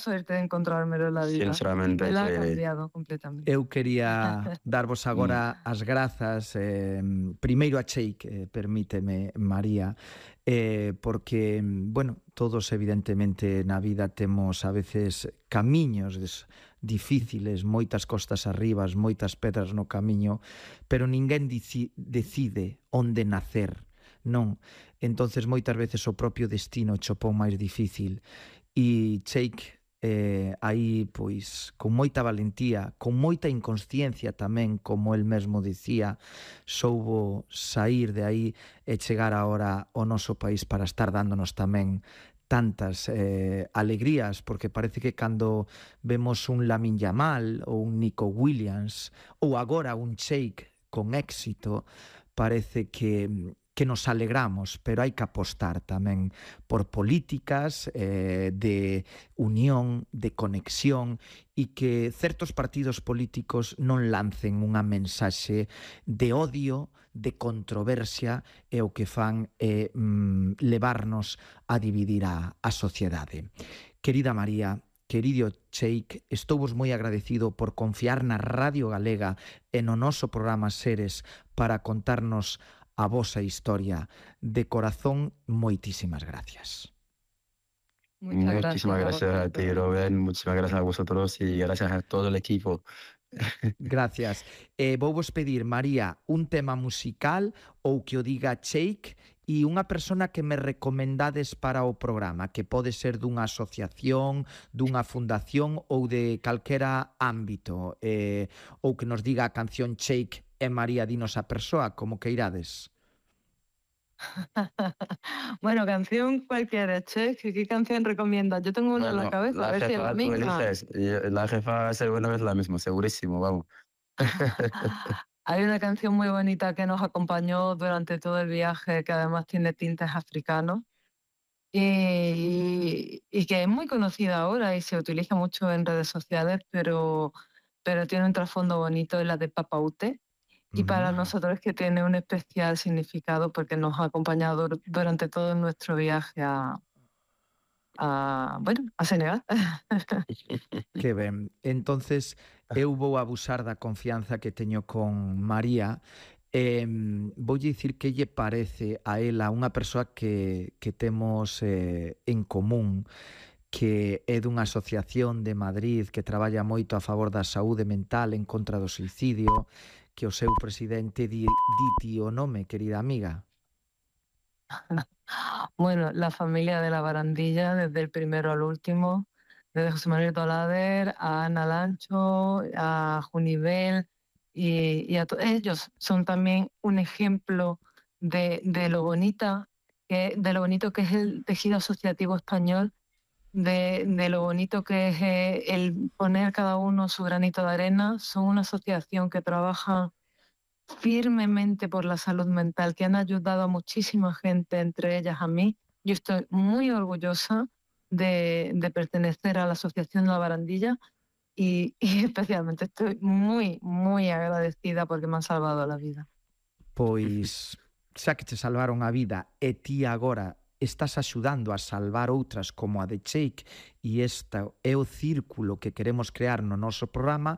suerte de encontrármelo en la vida. Sinceramente, Me la ha cambiado completamente. Eu quería darvos agora as grazas, primeiro a Cheik, permíteme, María, porque, bueno, todos evidentemente na vida temos a veces camiños difíciles, moitas costas arribas, moitas pedras no camiño, pero ninguén decide onde nacer, non? Entonces moitas veces o propio destino chopou máis difícil. E Cheik, aí, pois, con moita valentía, con moita inconsciencia tamén, como el mesmo dicía, soubo sair de aí e chegar agora ao noso país para estar dándonos tamén tantas alegrías, porque parece que cando vemos un Lamine Yamal ou un Nico Williams ou agora un Cheik con éxito, parece que nos alegramos, pero hai que apostar tamén por políticas de unión, de conexión, e que certos partidos políticos non lancen unha mensaxe de odio, de controversia, e o que fan é levarnos a dividir a sociedade. Querida María, querido Cheik, estou vos moi agradecido por confiar na Radio Galega e no noso programa Seres para contarnos a vosa historia. De corazón, moitísimas gracias. Muchísimas gracias a ti, Rubén. Muchísimas gracias a vosotros y gracias a todo el equipo. Gracias. Vou vos pedir, María, un tema musical ou que o diga Cheik e unha persona que me recomendades para o programa, que pode ser dunha asociación, dunha fundación ou de calquera ámbito, ou que nos diga a canción Cheik e María dinos a persoa, como que irades. Bueno, canción cualquiera, Che. ¿Qué canción recomiendas? Yo tengo una en la cabeza, a ver si es la misma. La jefa seguro es la misma, segurísimo, vamos. Hay una canción muy bonita que nos acompañó durante todo el viaje, que además tiene tintes africanos y que es muy conocida ahora y se utiliza mucho en redes sociales, pero tiene un trasfondo bonito, es la de Papa Ute. Y para nosotros es que tiene un especial significado porque nos ha acompañado durante todo nuestro viaje a Senegal. Que ben. Entonces, eu vou abusar da confianza que teño con María. Voulle dicir que lle parece a ela unha persoa que temos en común, que é dunha asociación de Madrid que traballa moito a favor da saúde mental en contra do suicidio, que o seu presidente diti o nome, querida amiga. Bueno, la familia de la Barandilla, desde el primero al último, desde José Manuel Tolader a Ana Lancho, a Junivel y a todos ellos son también un ejemplo de lo bonito que es el tejido asociativo español, de lo bonito que es el poner cada uno su granito de arena. Son una asociación que trabaja firmemente por la salud mental, que han ayudado a muchísima gente, entre ellas a mí. Yo estoy muy orgullosa de pertenecer a la Asociación La Barandilla y especialmente estoy muy, muy agradecida porque me han salvado la vida. Pois, xa que te salvaron a vida e ti agora estás axudando a salvar outras como a de Cheik, e esta é o círculo que queremos crear no noso programa,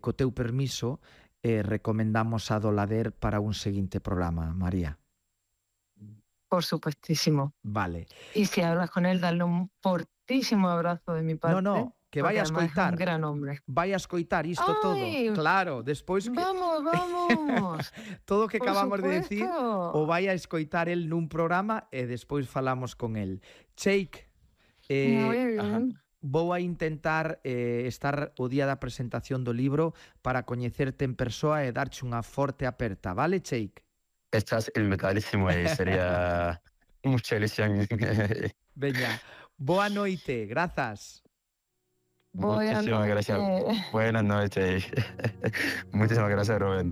co teu permiso, recomendamos a Dolader para un seguinte programa, María. Por supuestísimo. Vale. Y si hablas con él, dale un fortísimo abrazo de mi parte. No, que vai a escoitar. É un gran hombre. Vai a escoitar isto todo. Claro, despois que... Vamos. Todo o que acabamos de decir o vai a escoitar el nun programa e despois falamos con el. Cheik, vou a intentar estar o día da presentación do libro para coñecerte en persoa e darche unha forte aperta, vale, Cheik? Estás invitadísimo e sería mucha ilusión. Veña, boa noite, grazas. Muchísimas gracias. Buenas noches. Muchísimas gracias, Rubén.